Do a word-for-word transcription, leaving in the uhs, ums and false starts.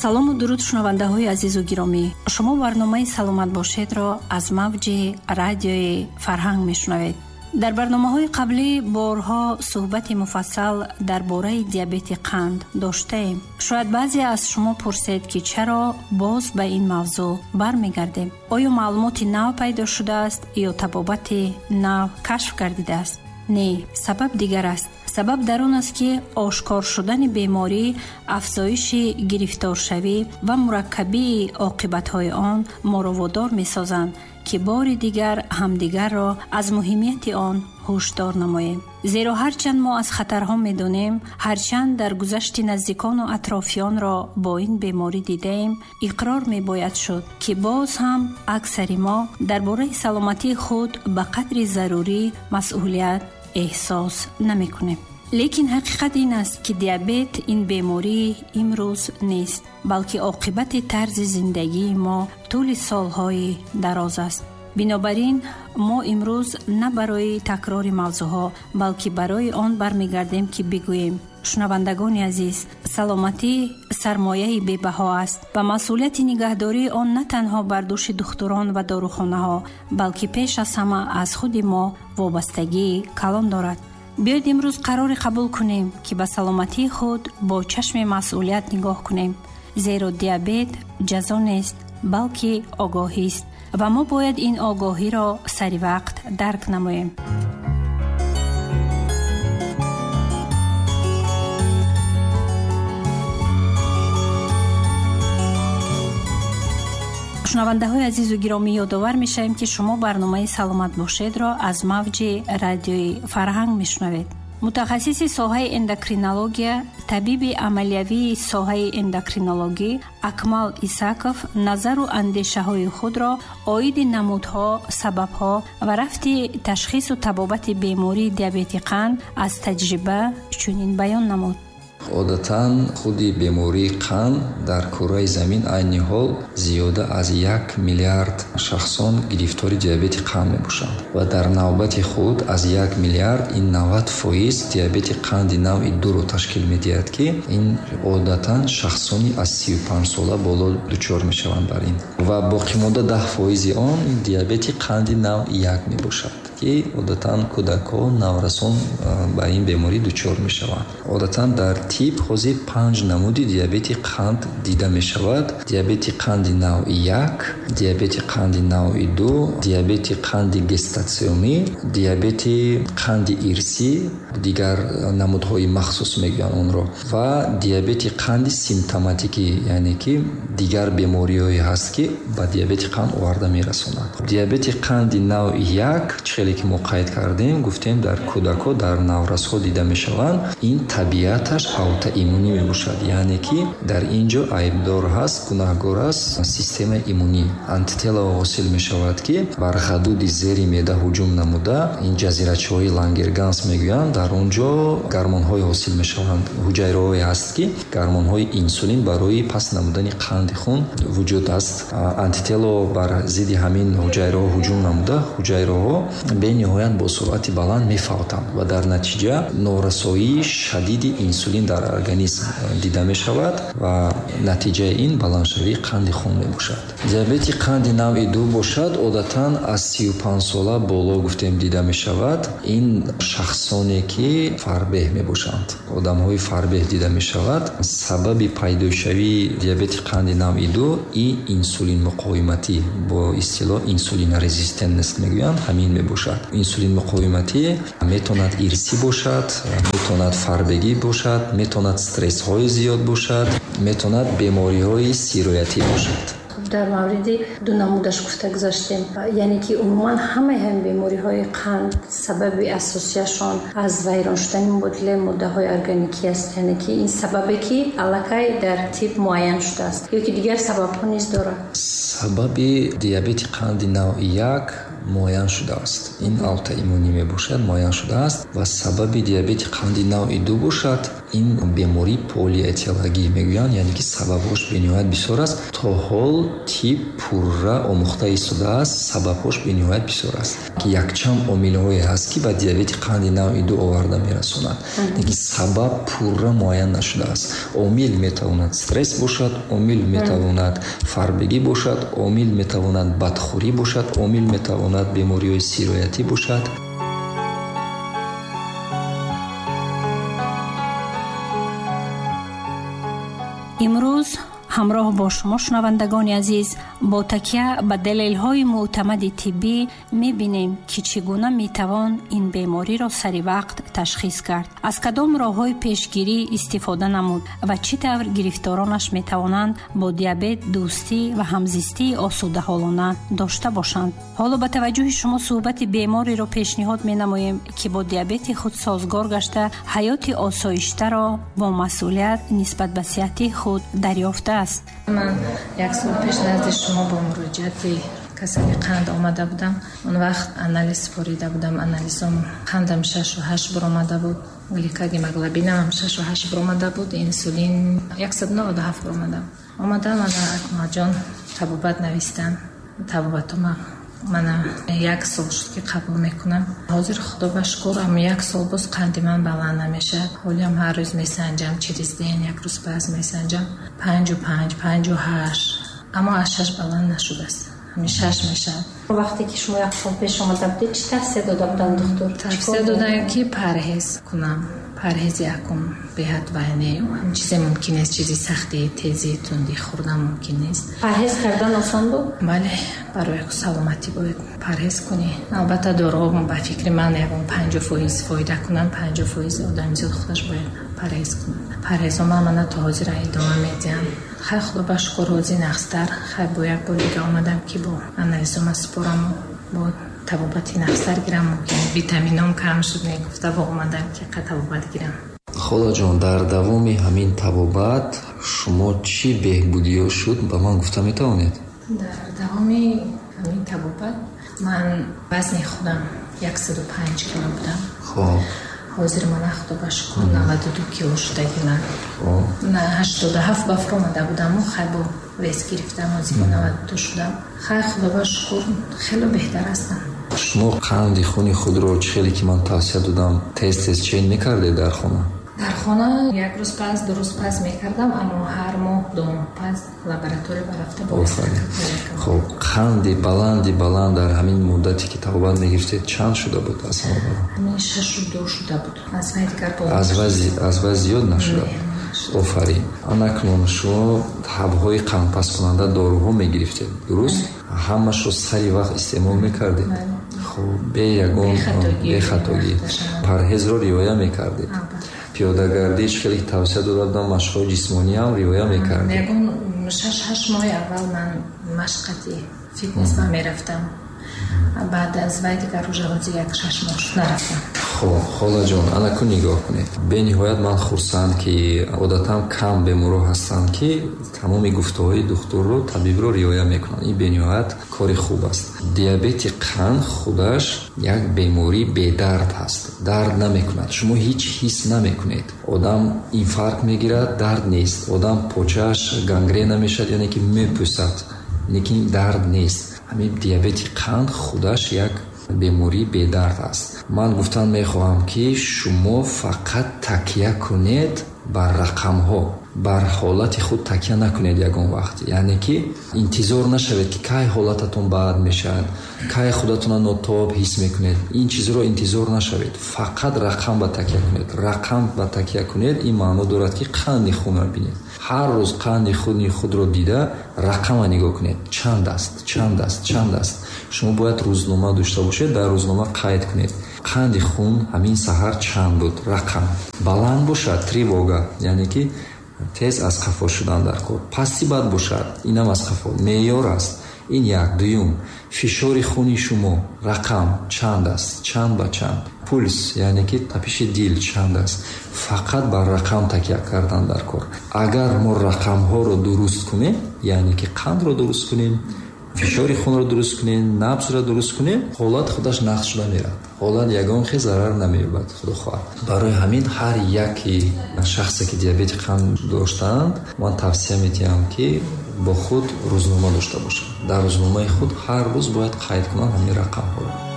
Салому дуруд шунавандаҳои азизу гиромӣ. Шумо барномаи «Саломат бошед»-ро аз мавҷи радиои Фарҳанг мешунавед. Дар барномаҳои қаблӣ борҳо суҳбати муфассал дар бораи диабети қанд доштаем. Шояд баъзе аз шумо пурсед, ки чаро боз ба ин мавзӯъ бармегардем. Оё маълумоти нав пайдо шудааст ё табобати нав кашф гардидааст? Не, сабаб дигар аст. Сабаб дар он аст, ки ошкор шудани беморӣ, афзоиши гирифторшавӣ ва мураккабии оқибатҳои он моро водор месозанд, ки бори дигар ҳамдигарро аз муҳимияти он ҳушдор намоем. Зеро ҳарчанд мо аз хатарҳо медонем, ҳарчанд дар гузашти наздикону атрофиёнро бо ин беморӣ дидаем, иқрор мебояд шуд, ки боз ҳам аксари мо дар бораи саломатии худ ба қадри зарурӣ масъулият эҳсос намекунем. Лекин ҳақиқат ин аст, ки диабет ин бемории имрӯз нест, балки оқибати тарзи зиндагии мо тӯли солҳои дароз аст. Бинобар ин мо имрӯз на барои такрори мавзӯъҳо, балки барои он бармегардем, ки бигӯем: шунавандагони азиз, саломатӣ сармояи бебаҳо аст ва масъулияти нигаҳдории он на танҳо бар дӯши духтурон ва дорухонаҳо, балки пеш аз ҳама аз худи мо вобастагии калон дорад. Биёед имрӯз қароре қабул кунем, ки ба саломатии худ бо чашми масъулият нигоҳ кунем, зеро диабет ҷазо нест, балки огоҳист ва мо бояд ин огоҳиро сари вақт дарк намоем. Шунавандаҳои азизу гиромӣ, ёдовар мешавем, ки шумо барномаи «Саломат бошед»-ро аз мавҷи радиои Фарҳанг мешунавед. Мутахассиси соҳаи эндокринология, табиби амалиявии соҳаи эндокринологӣ Акмал Исаков назару андешаҳои худро оиди намудҳо, сабабҳо ва рафти ташхису табобати бемории диабети қанд аз таҷриба чунин баён намуд. Одатан худи бемории қанд дар кураи замин айни ҳол зиёда аз як миллиард шахсон гирифтори диабети қанд мебошанд ва дар навбати худ аз як миллиард ин навад фоиз диабети қанди навъи дуро ташкил медиҳад, ки ин одатан шахсони аз сию панҷ сола боло дучор мешаванд бар ин ва боқимонда даҳ фоизи он диабети қанди навъи як мебошад, ки одатан кӯдакон, наврасон ба ин беморӣ дучор мешаванд. Одатан дар тип ҳозир панҷ намуди диабети қанд дида мешавад: диабети қанди навъи як, диабети қанди навъи ду, диабети қанди гестатсионӣ, диабети қанди ирсӣ, дигар намудҳои махсус мегӯянд онро, ва диабети қанди симптоматикӣ, яъне ки дигар бемориҳое ҳаст, ки ба диабети қанд оварда мерасонанд. Диабети қанди навъи як, хеле ки мо қайд кардем, гуфтем, дар кӯдакҳо, дар наврасҳо дида мешаванд. Ин табиаташ аутоиммунӣ мебошад, яъне ки дар ин ҷо айбдор ҳаст, гунаҳгор аст системаи иммунӣ. Антителаҳо ҳосил мешавад, ки бар ғадуди зери меъда ҳуҷум намуда, ин ҷазирачаҳои Лангерганс мегӯянд, дар он ҷо гармонҳое ҳосил мешаванд, ҳуҷайраҳое ҳаст, ки гармонҳои инсулин барои паст намудани қанди хун вуҷуд аст. Антитело бар зидди ҳамин ҳуҷайраҳо ҳуҷум намуда, ҳуҷайраҳо бениҳоят бо суръати баланд мефавтанд ва дар натиҷа норасоии шадиди инсулин дар организм дида мешавад ва натиҷаи ин баландшавии қанди хун мебошад. Диабети қанди навъи ду бошад, одатан аз сию панҷ сола боло, гуфтем, дида мешавад. Ин шахсоне ки фарбеҳ мебошанд, одамҳои фарбеҳ дида мешавад. Сабаби пайдошавии диабети қанди навъи ду и инсулинмуқовиматӣ, бо истилоҳ инсулинорезистентност мегӯянд, ҳамин мебошад. Инсулинмуқовиматӣ метавонад ирсӣ бошад, метавонад фарбегӣ бошад, метавонад стрессҳои зиёд бошад, метавонад бемориҳои сироятӣ бошад. Дар мавриди ду намудаш гуфта гузаштем, яъне ки умуман ҳамаи ҳамин бемориҳои қанд сабаби асосияшон аз вайрон шудани мубодилаи моддаҳои органикӣ аст, яъне ки ин сабабе ки аллакай дар тиб муайян шудааст ё ки дигар сабабҳо низ дорад? Сабаби диабети қанди навъи як муайян шудааст. Ин аутоиммунӣ мебошад, муайян шудааст ва сабаби диабети қанди навъи ду бошад. Ин бемории полиэтиологӣ мегӯянд, яъне ки сабабҳош бениҳоят бисёр аст. То ҳол тиб пурра омӯхта истодааст, сабабҳош бениҳоят бисёр аст. Ки якчанд омилҳое ҳаст, ки ба диабети қанди навъи ду оварда мерасонад. Лекин сабаб пурра муайян нашудааст. Омил метавонад стресс бошад, омил метавонад фарбегӣ бошад, омил метавонад бадхӯрӣ бошад, омил метавонад бемориҳои сироятӣ бошад. Имрӯз ҳамроҳ бо шумо шунавандагони азиз бо такя ба далелҳои мӯътамади тиббӣ мебинем, ки чӣ гуна метавон ин бемориро сари вақт ташхис кард, аз кадом роҳҳои пешгирӣ истифода намуд ва чӣ тавр гирифторонаш метавонанд бо диабет дӯстӣ ва ҳамзистии осудаҳолона дошта бошанд. Ҳоло ба таваҷҷӯҳи шумо суҳбати бемориро пешниҳод менамоем, ки бо диабети худ созгор гашта ҳаёти осоиштаро бо масъулият нисбат ба сиҳатии худ дарёфтааст. Ман як сол пеш назди шумо бо муроҷиати касали қанд омада будам. Он вақт анализ супорида будам. Анализом қандам шашу ҳашт баромада буд, гликогемоглобинам шашу ҳашт баромада буд, инсулин яксаду наваду ҳафт баромада. Омадам, ана Акмалҷон табобат навистам. Табобатума мана як сол шуд, ки қабул мекунам. Ҳозир худо ба шукр, ам як сол боз қанди ман баланд намешавад. Ҳолиам ҳар рӯз месанҷам, через день як рӯз пас месанҷам, панҷу панҷ, панҷу ҳашт, аммо аз шаш баланд нашудааст. Ҳамин шаш мешавад. Вақте ки шумо як сол пеш омада будед, чӣ тавсия дода буданд духтур? Тавсия доданд, ки парҳез кунам. Парҳези якум беҳад вайне, ҳам чизе мумкин нест, чизи сахти, тези, тунди хӯрдан мумкин нест. Парҳез кардан осон буд? Бале, барои саломатӣ бояд парҳез кунӣ. Албатта доруҳо ба фикри ман ягон панҷоҳ фоиз фоида кунанд, панҷоҳ фоиз одами зиёд худаш бояд парҳез кунад. Парҳезҳо ман мана то ҳозир идома медиҳам. Хай худо ба шукр, рози нақстар. Хай бо як бор дига омадам, ки бо анализома супораму бо табобати нақстар гирам. Мумкин витамином кам шуд, мегуфта, бо омадам, ки қа табобат гирам. Холаҷон, дар давоми ҳамин табобат шумо чӣ беҳбудиё шуд, ба ман гуфта метавонед? Дар давоми ҳамин табобат ман вазни худам яксаду панҷ кило будам. Хоб. Ҳозир мана худо ба шукр наваду ду кило шудагиман. На ҳаштоду ҳафт ба фуромада будаму хай бо вес гирифтам, ҳозир бо наваду ду шудам. Хай худо ба шукр, хеле беҳтар ҳастам. Шумо қанди хуни худро чӣ хеле ки ман тавсия додам, тез тез чен мекардед дар хона? Дар хона як рӯз пас, ду рӯз пас мекардам, аммо ҳар моҳ ду моҳ пас лаборатория барафта боз. Хоб, қанди баланди баланд дар ҳамин муддате ки табобат мегирифтед чанд шуда буд аз ҳама баланд? Ҳамин шашу ду шуда буд. Аз вай дигар боло аз вай аз вай зиёд нашуда буд. Офарин. Анакнун шумо ҳабҳои қандпасткунанда доруҳо мегирифтед, дуруст? Ҳамашро сари вақт истеъмол мекардед? Хоб, бе ягон бехатогӣ парҳезро риоя мекардед. Пиёдагардӣ чӣ хеле тавсия дода будам, машқҳои ҷисмонӣ ҳам риоя мекардед. Ягон шаш ҳашт моҳи аввал ман машқати фитнес ба мерафтам. Баъд аз вай дигар рӯза ҳозир як шаш моҳ шуд нарафтам. Хоб, холаҷон, анакун нигоҳ кунед. Бениҳоят ман хурсанд, ки одатан кам беморҳо ҳастанд, ки тамоми гуфтаҳои духтурро, табибро риоя мекунанд. Ин бениҳоят кори хуб аст. Диабети қанд худаш як бемории бедард ҳаст. Дард намекунад. Шумо ҳеҷ ҳис намекунед. Одам инфаркт мегирад, дард нест. Одам почааш гангрена мешавад, яъне ки мепӯсад, лекин дард нест. Ҳамин диабети қанд худаш як бемории бедард аст. Ман гуфтан мехоҳам, ки шумо фақат такя кунед бар рақамҳо, бар ҳолати худ такя накунед ягон вақт. Яъне ки интизор нашавед, ки кай ҳолататон бад мешавад, кай худатонро нотоб ҳис мекунед. Ин чизро интизор нашавед. Фақат рақам ба такя кунед. Рақам ба такя кунед, ин маъно дорад, ки қанди хунро бинед. Ҳар рӯз қанди хуни худро дида рақамро нигоҳ кунед. Чанд аст, чанд аст, чанд аст. Шумо бояд рӯзнома дошта бошед, дар рӯзнома қайд кунед. Қанди хун ҳамин саҳар чанд буд? Рақам. Баланд бошад, тревога, яъне ки тез аз қафо шудан дар кор. Пасти бад бошад, инам аз қафо. Меъёр аст. Ин як. Дуюм, фишори хуни шумо рақам чанд аст, чанд ба чанд. Пулс, яъне ки тапиши дил чанд аст. Фақат бар рақам такя кардан дар кор. Агар мо рақамҳоро дуруст кунем, яъне ки қандро дуруст кунем, Фишори хунро дуруст кунем, набзро дуруст кунем, ҳолат худаш нақс шуда меравад. Ҳолат ягон хел зарар намеёбад, худо хоҳад. Барои ҳамин ҳар яке шахсе ки диабети қанд доштаанд, ман тавсия медиҳам, ки бо худ рӯзнома дошта бошад. Дар рӯзномаи худ ҳар рӯз бояд қайд кунанд ҳамин рақамҳоро.